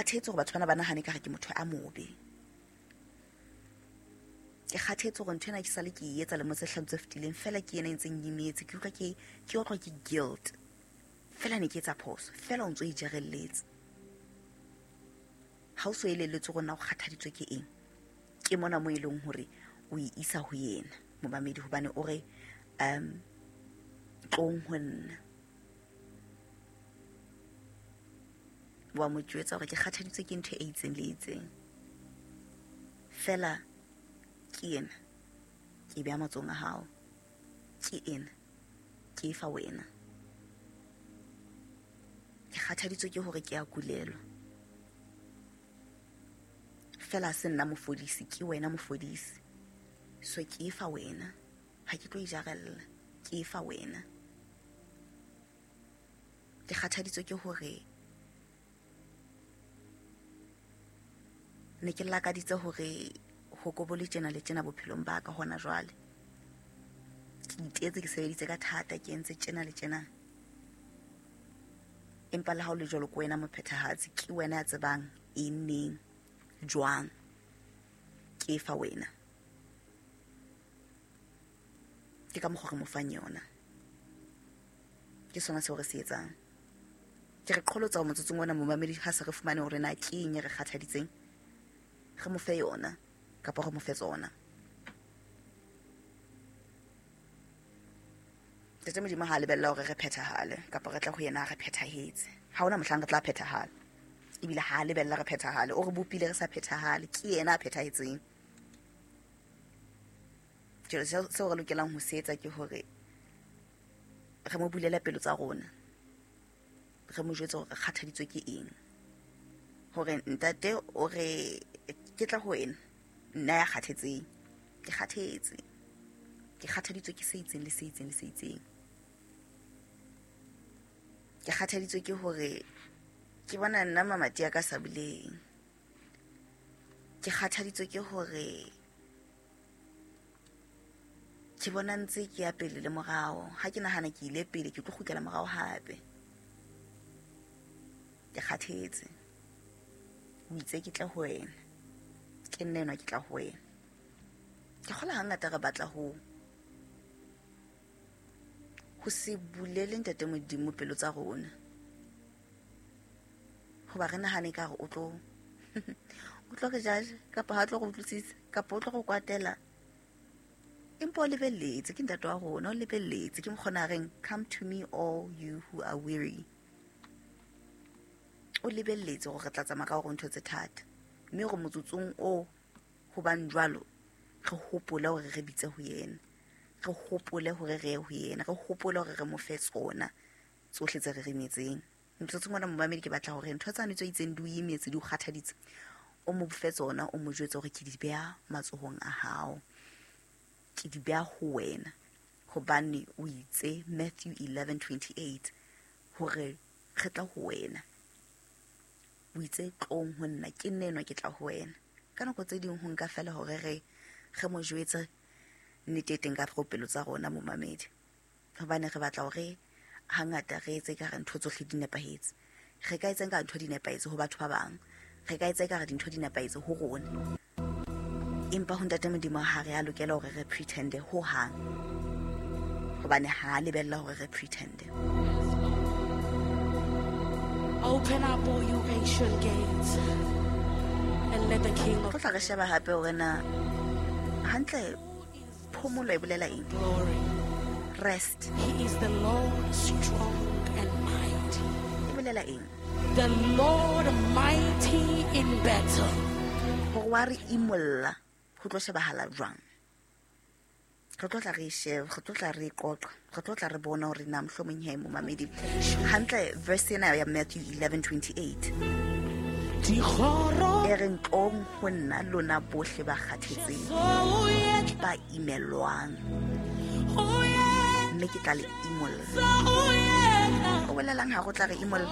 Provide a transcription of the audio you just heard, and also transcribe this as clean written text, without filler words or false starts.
kgathetse hore batho bana ba nahane ka re ke motho a mobe. Ke kgathetse hore ntho ena ke sale ke e etsa lemo tse hlano tse fetileng, fela ke ena e ntseng imetse. Ke utlwa ke otlwa ke guilt. Fela ne ke etsa phoso, fela o ntso e jarelletse. Ha o so elelletswe hore na o kgathaditswe ke eng, ke mona mo e leng hore o e isa ho yena momamedi, hobane o re tlong ho nna. Wa mo jwetsa hore ke kgathaditswe ke ntho e itseng le itseng, fela ke ena ke beha matsohong a hao, ke ena ke e fa wena. Ke kgathaditswe ke hore ke a kulelwa, fela se nna mofodisi, ke wena mofodisi, so ke e fa wena, ha ke tlo e jarella, ke e fa wena. Ke kgathaditswe ke hore ne ke lakaditse hore ho kobole tjena le tjena bophelong ba ka hona jwale. Ke itetse, ke sebeditse ka thata, ke entse tjena le tjena, empa le ha o le jwalo ke wena mophethahatsi, ke wena ya tsebang eng neng jwang, ke e fa wena. Ke ka mokgwa re mo fang yona, ke sona seo re se etsang. Ke re qholotsa ho motsotsong ona momamedi, ha se re fumane hore na ke eng e re kgathaditseng, re mo fe yona kapa re mo fe tsona. Ntate Modimo ha a lebella hore re phethahale kapa re tla ho yena re phethahetse. Ha hona mohlang re tla phethahala, ebile ha a lebella re phethahale, o re bopile re sa phethahale, ke yena a phethahetseng. Jwale seo re lokelang ho se etsa ke hore re mo bulele pelo tsa rona, re mo jwetse hore re kgathaditswe ke eng, hore ntate o re ke tla ho wena, nna ya kgathetseng, ke kgathetse, ke kgathaditswe ke se itseng le se itseng le se itseng. Ke kgathaditswe ke hore ke bona nna mamati a ka sa buleng. Ke kgathaditswe ke hore ke bona ntse ke ya pele le morao. Ha ke nahana ke ile pele, ke tlo kgutlela morao hape. Ke kgathetse. O itse ke tle ho wena, ke nna enwa ke tla ho wena. Ke kgolwa hangata re batla ho se bulele Ntate Modimo pelo tsa rona, hoba re nahane ka hore o tlo re judge, kapa ha tlo re utlwisisa, kapa o tlo re kwatela. Empa o lebelletse, ke ntate wa rona, o lebelletse. Ke mokgona a reng, come to me all you who are weary. O lebelletse hore re tla tsamaya ka hore ntho tse thata, mme hore motsotsong o ho bang jwalo, re hopole hore re bitse ho yena, re hopole hore re ye ho yena, re hopole hore re mo fe tsona tsohle tse re remetseng. Motsotsong ona momamedi, ke batla hore ntho tsane tse itseng di o imetse, di o kgathaditse, o mo fe tsona, o mo jwetse hore ke di beha matsohong a hao, ke di beha ho wena, hobane o itse Matthew 11:28 hore re tla ho wena. O itse tlong ho nna, ke nna enwa ke tla ho wena. Ka nako tse ding ho nka fela hore re mo jwetse nnete e teng ka ho pelo tsa rona momamedi, hobane re batla hore hangata re etse ekare ntho tsohle di nepahetse. Re ka etsa ekare ntho di nepahetse ho batho ba bang, re ka etsa ekare dintho di nepahetse ho rona, empa ho Ntate Modimo ha re a lokela hore re pretende ho hang, hobane ha a lebella hore re pretende. Open up all you ancient gates and let the King of Tlo tla re sheba hape hore na hantle phomolo e bolela eng. Glory. Rest. He is the Lord strong and mighty. E bolela eng? The Lord mighty in battle. Hore wa re imolla ho tlo shebahala jwang? Re tlo tla re sheba, re tlo tla re qoqa, re tlo tla re bona hore na mohlomong he momamedi. Hantle verse ena ya Matthew 11:28. Dikgoro E reng tlong ho nna lona bohle ba kgathetseng, ba imelwang, mme ke tla le imolla. O bolelang ha go tla re imolla?